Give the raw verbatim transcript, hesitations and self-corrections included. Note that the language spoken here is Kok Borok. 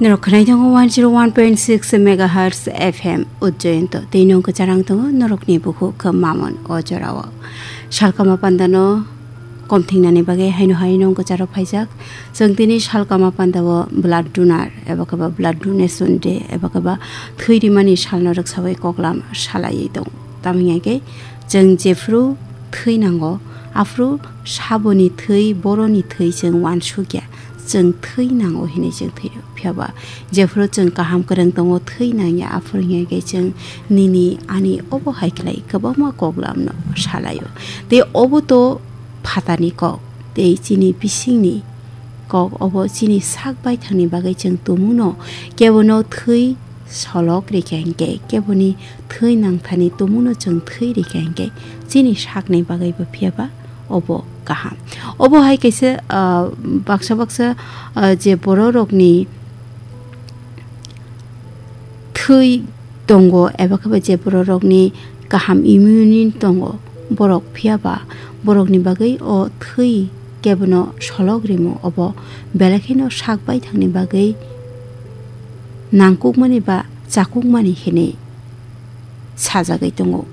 Norok khwnai tongo one zero one point six megahertz F M Ujjayanto. Tei nong kwcharang tongo norokni bukhuk khe mamon o jorao. Salkama pandano kom thingnani bagwi haino hai nong kwcharo phaijak. Chwng tini salkama pandao blood donor eba khe ba blood donation day eba khe ba thwi rimani salno rwksawi koklam salaiwi tongo. Tamni hwnkhe chwng jephru thwi nango, aphuru saboni thwi, boroni thwi chwng uansukya. Chwng thwi nango hinwi chwng thwi rw. Phiya ba jephuru chwng kaham kwrwng tongo, thwi nangya, aphuru hinkhe chwng nini ani obo hai khlai kwbangma koklamno salaio. Tei obo to phatani kok, tei chini bisingni kok, obo chini sak baithangni bagwi chwng tumuno kebono thwi solok rikha hinkhe, keboni thwi nangthani tumuno chwng thwi rikha hinkhe, chini sakni bagwibo phiya ba obo kaham. Obo hai kaisa, ah, baksa baksa, ah, je bororokni thwi tongo eba khe ba je bororokni kaham immunity tongo, borok phiya ba borokni bagwi o thwi kebono solok rimo, obo belai kheno sak baithangni bagwi nangkukmani ba chakukmani hinwi sajagwi tongo.